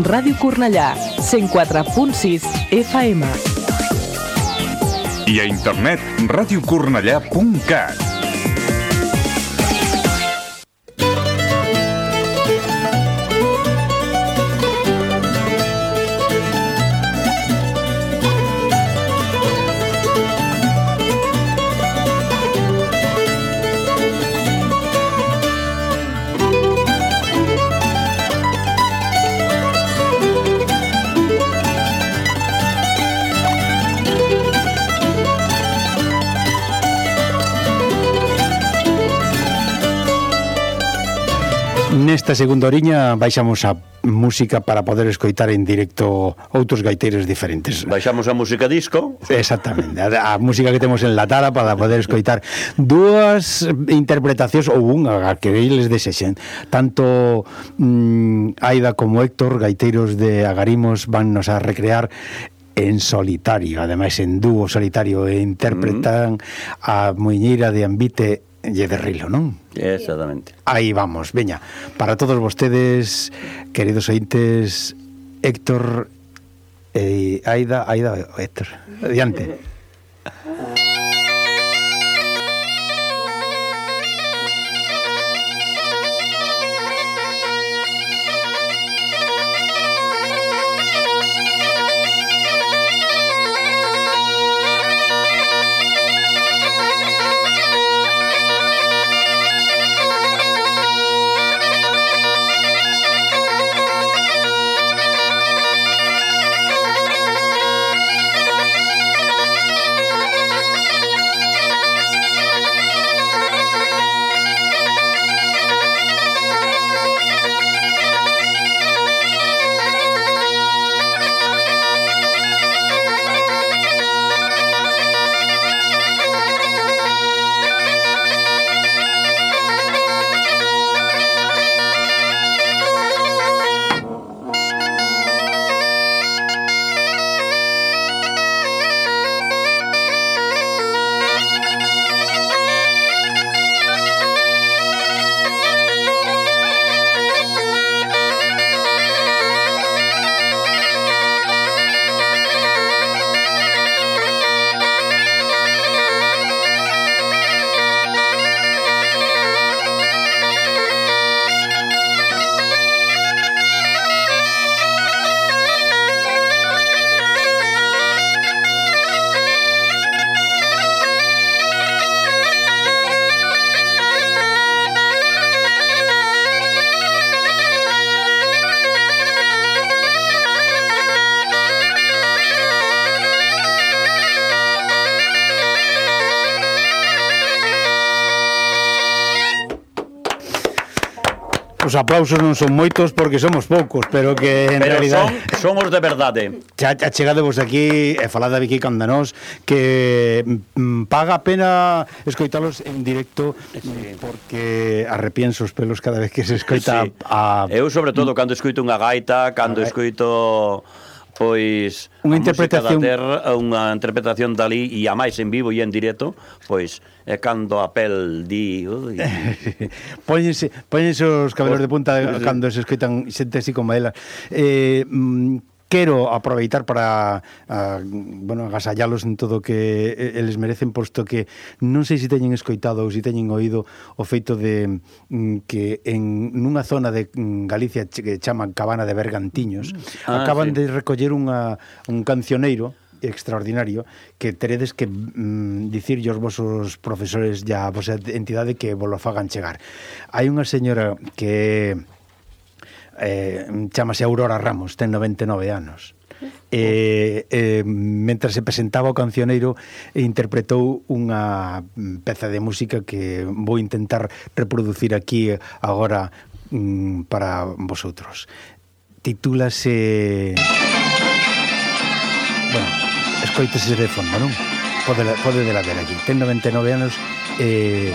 Ràdio Cornellà, 104.6 FM. I a internet, radiocornellà.cat. Nesta segunda oriña baixamos a música para poder escoitar en directo outros gaiteiros diferentes. Baixamos a música disco. Exactamente, a música que temos enlatada para poder escoitar dúas interpretacións ou unha que eles desexen. Tanto Aida como Héctor, gaiteiros de Agarimos, vannos a recrear en solitario, ademais en dúo solitario, e interpretan a Muiñeira de Ambite e de Rilo, non? Exactamente. Aí vamos, veña. Para todos vostedes, queridos ointes, Héctor e Aida, Héctor. Adiante. Os aplausos non son moitos porque somos poucos, pero que en pero realidad somos de verdade. Chegadevos aquí e falad aquí canda nós que paga a pena escoitalos en directo, porque arrepienso os pelos cada vez que se escoita a... Eu sobre todo cando escoito unha gaita, cando escoito pois unha interpretación unha interpretación dali e a máis en vivo e en directo, pois é cando a pel di póñense os cabelos de punta cando se escoitan xente así como ela. Quero aproveitar para agasallalos en todo o que eles merecen, posto que non sei se teñen escoitado ou se teñen oído o feito de que en nunha zona de Galicia que chaman Cabana de Bergantiños acaban de recoller un cancioneiro extraordinario que teredes que dicirlle aos vosos profesores e a vosa entidade que vos lo fagan chegar. Hai unha señora que chamase Aurora Ramos, ten 99 anos. Mentras se presentaba o cancioneiro, interpretou unha peza de música que vou intentar reproducir aquí agora para vosotros. Titúlase... Bueno, escoítese de fondo, non? Podedela ver aquí. Ten 99 anos e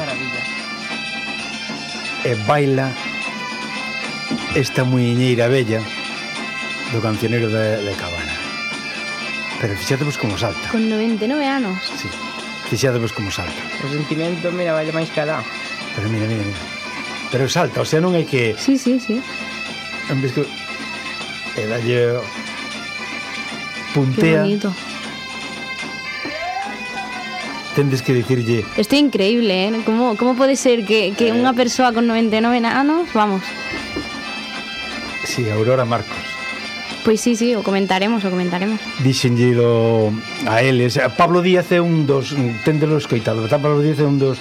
baila esta muiñeira bella do cancioneiro de Cabana. Pero fixadevos como salta. Con 99 anos. Sí, fixadevos como salta. O sentimento, mira, vale máis que alá. Pero mira. Pero salta, o sea, non hai que... Sí. En vez que... e dalle Qué puntea, bonito. tendes que dicirlle Isto é increíble, ¿eh? Como pode ser que unha persoa con 99 anos, vamos. si Aurora Marcos Pois sí, o comentaremos. dixenlle a eles. Pablo Díaz é un dos, téndelo escoitado, Pablo Díaz é un dos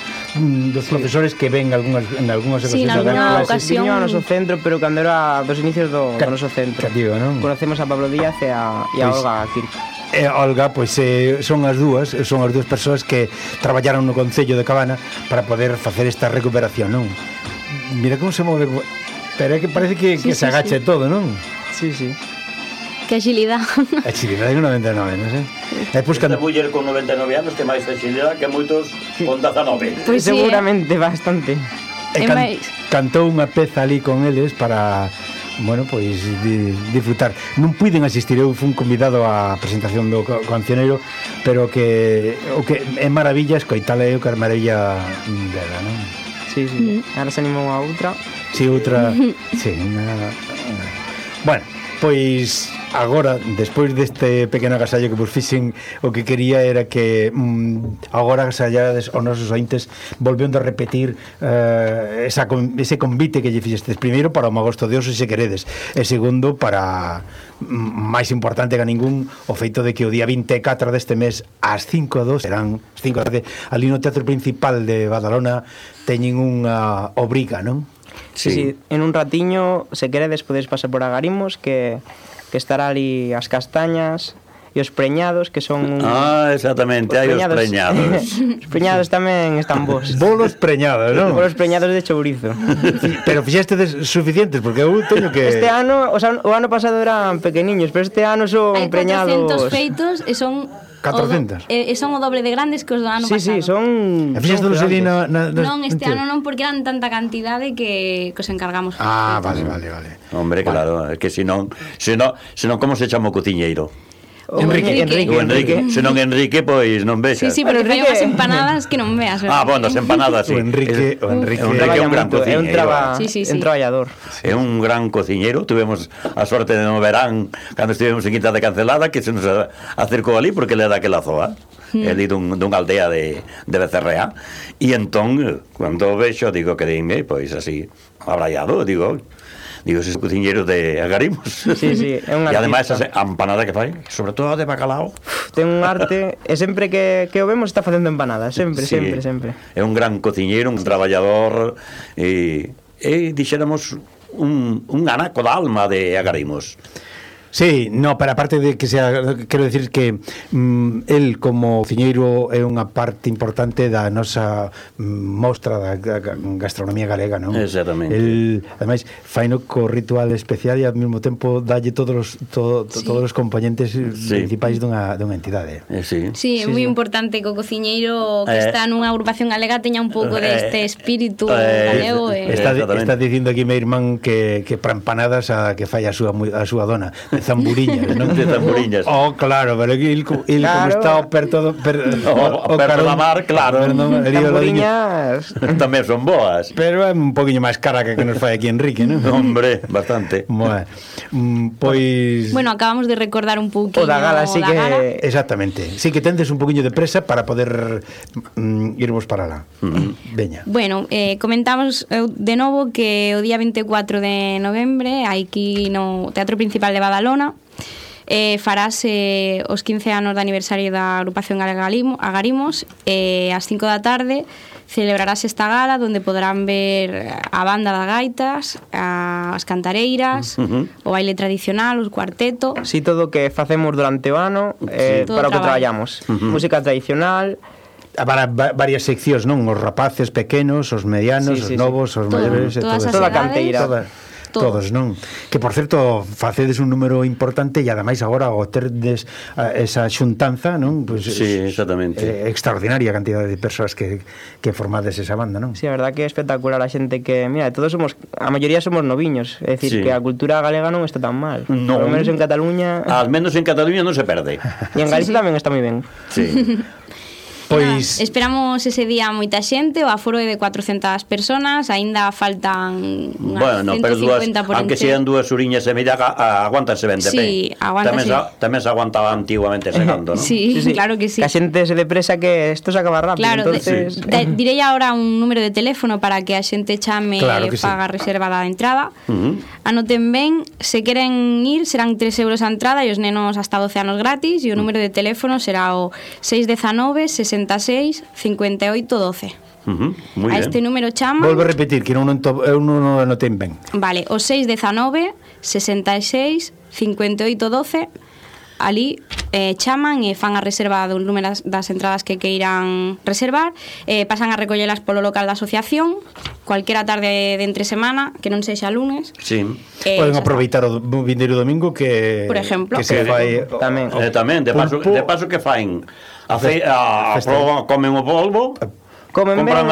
profesores que ven en algunhas Sí, en ocasións alguna das clases. ocasión. Viño ao noso centro, pero cando era dos inicios do noso centro. Cativo, non? Conocemos a Pablo Díaz e a Pois- Olga Kirk. Olga, pois son as dúas persoas que traballaron no Concello de Cabana para poder facer esta recuperación, non? Mira como se move, pero é que parece que Sí, se agacha e todo, non? Sí, sí. Que agilidade. A chilidade é 99, non sei. E pois Esta cando muller con 99 anos que máis agilidade que moitos con 19. Pois sí, Seguramente bastante. É máis. cantou unha peza ali con eles para, bueno, pois disfrutar. Non puiden asistir, eu fui convidado á presentación do cancioneiro, pero que o que é maravilla escoitala é o que é maravilla dela, non? Sí, sí. Ahora se animou a outra. Si outra, sí, bueno, pois agora, despois deste pequeno agasallo que vos fixen, o que quería era que agora agasallades os nosos ointes volvendo a repetir ese convite que lle fixestes, primeiro para o Magosto de Oso, se queredes, e segundo para, máis importante que ningún, o feito de que o día 24 deste mes ás 5:02 serán as 5 da tarde ali no Teatro Principal de Badalona teñen unha obriga, non? Sí. En un ratiño, se queredes, podedes pasar por Agarimos, que estará ali as castañas e os preñados, que son... Exactamente, hai os preñados. Os preñados tamén están bons. Bolos preñados, non? Bolos preñados de chourizo. Pero fixestedes suficientes, porque eu teño que... Este ano, o ano pasado eran pequeniños, pero este ano son Hai 400 preñados... feitos e son 400? E son o doble de grandes que os do ano Sí, pasado. sí, son... E fixestedes ali gigantes. Non, este ano non, porque eran tanta cantidade que os encargamos. Ah, vale. Hombre, claro, é que senón como se chama o cociñeiro? Enrique. O Enrique, senón Enrique, pois non vexas. Sí, pero fai Enrique- unhas empanadas que non veas. ¿verdad? Bueno, as empanadas, sí. O Enrique é un gran É un cociñeiro. Sí. un traballador. É un gran cociñeiro. Tuvemos a sorte de no verán cando estivemos en Quinta de Cancelada, que se nos acercou ali porque ele é daquela zoa. Ele dunha aldea de Becerrea. E entón, cando o vexo, digo que dime, pois así, abraiado, digo, ese cociñeiro de Agarimos. Sí, é un E ademais artista. a empanada que fai, sobre todo a de bacalao. Ten un arte, e sempre que o vemos está facendo empanadas, sempre. É un gran cociñeiro, un traballador e dixéramos un anaco da alma de Agarimos. Sí, no, pero aparte de que sea, quero decir que el como cociñeiro é unha parte importante da nosa mostra da gastronomía galega, non? Exactamente. El, ademais, faino co ritual especial e ao mesmo tempo dalle todos os componentes principais dunha entidade. Sí. Sí, é moi importante que o cociñeiro que está nunha agrupación galega teña un pouco deste espírito galego. Está dicindo aquí meu irmán que para empanadas a que fai a súa dona de zamburiñas, non? De zamburiñas. Oh, claro, pero el como está o perto perto da mar, claro. Zamburiñas Tamén son boas. Pero é un poquinho máis cara que nos fai aquí Enrique, non? Hombre, bastante. Bueno, pois... Bueno, acabamos de recordar un pouquinho O da gala, sí que... Exactamente. Sí que tendes un poquinho de presa para poder irmos para lá. Veña. Bueno, comentamos de novo que o día 24 de novembre aquí no Teatro Principal de Badalona farase os 15 anos de aniversario da agrupación Agarimos ás 5 da tarde celebrarase esta gala onde poderán ver a banda das gaitas, as cantareiras, o baile tradicional, o cuarteto. Si todo o que facemos durante o ano para o que traballamos. Música tradicional, Para varias seccións, non? Os rapaces pequenos, os medianos, os novos, os maiores, todas as toda a edades. canteira. Todos, non? Que, por certo, facedes un número importante e ademais agora o terdes esa xuntanza, non? Pues, Sí, exactamente. Extraordinaria cantidad de persoas que formades esa banda, non? Sí, a verdad que é espectacular a xente que, mira, todos somos, a maioría somos noviños, é dicir, Sí. que a cultura galega non está tan mal. Non. Por lo menos en Cataluña Al menos en Cataluña non se perde. e en Galicia tamén está moi ben. Sí. Pois Esperamos ese día moita xente, o aforo é de 400 personas, aínda faltan Bueno, pero 150 por aunque encher. sean 2 uriñas e media, aguántanse 20 Sí, aguántase. Tamén se aguantaba antiguamente segando, non? Sí, claro que sí. Que a xente se depresa que isto se acaba rápido. Claro, entonces... direi agora un número de teléfono para que a xente chame Claro e que faga reserva da entrada. Anoten ben, se queren ir serán 3 euros a entrada e os nenos hasta 12 anos gratis, e o número de teléfono será o 619 66 58 12. Muy A bien. este número chama. volvo a repetir, que non o noten ben. Vale, o 619 66 58 12. Ali chaman e fan a reserva do número das entradas que queiran reservar, pasan a recollelas polo local da asociación cualquera tarde de entre semana, que non sexa lunes. Sí. Poden aproveitar o vindeiro domingo que Por exemplo. que se fai Tamén. Tamén, de paso que fain a proba, comen o polvo. Comen ben,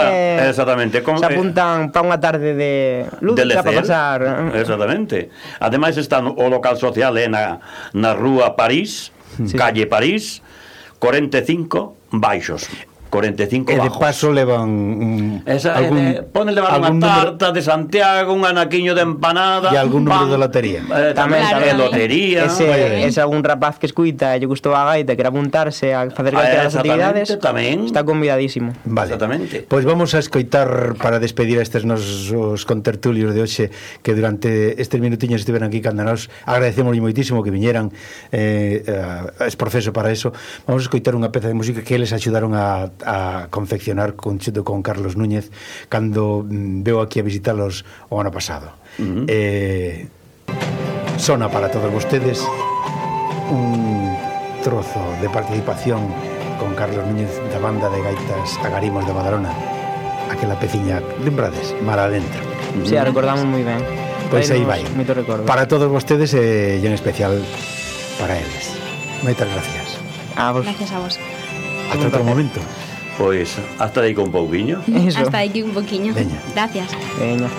exactamente, se apuntan para unha tarde de lúdica para pasar. Exactamente. Ademais está o local social na rúa París, calle París, 45 baixos. 45 e de bajos. paso levan ponen levar unha tarta de Santiago, un anaquiño de empanada, e algún número pan, de lotería. Tamén Claro, lotería. Ese algún rapaz que escuita e lle gustou a gaita, quere apuntarse a facer calquera das actividades, tamén. está convidadísimo. Vale. Exactamente. Pois vamos a escoitar para despedir a estes nosos contertulios de hoxe que durante estes minutiños estiveran aquí cando nos agradecemos moitísimo que viñeran es profeso para eso. Vamos a escoitar unha peza de música que eles axudaron a confeccionar conxunto con Carlos Núñez cando veo aquí a visitalos o ano pasado. Sona para todos vostedes un trozo de participación con Carlos Núñez da banda de gaitas Agarimos de Badalona, aquela peciña, lembrades, Mar Adentro. Sí, a recordamos moi ben. Pois aí vai. Moito recordo. Para todos vostedes e en especial para eles. Moitas gracias. A vos. Gracias a vos. Hasta outro momento. Pois hasta aí con un pouquiño. Eso. Hasta aquí un poquinho. Veña. Gracias. Veña.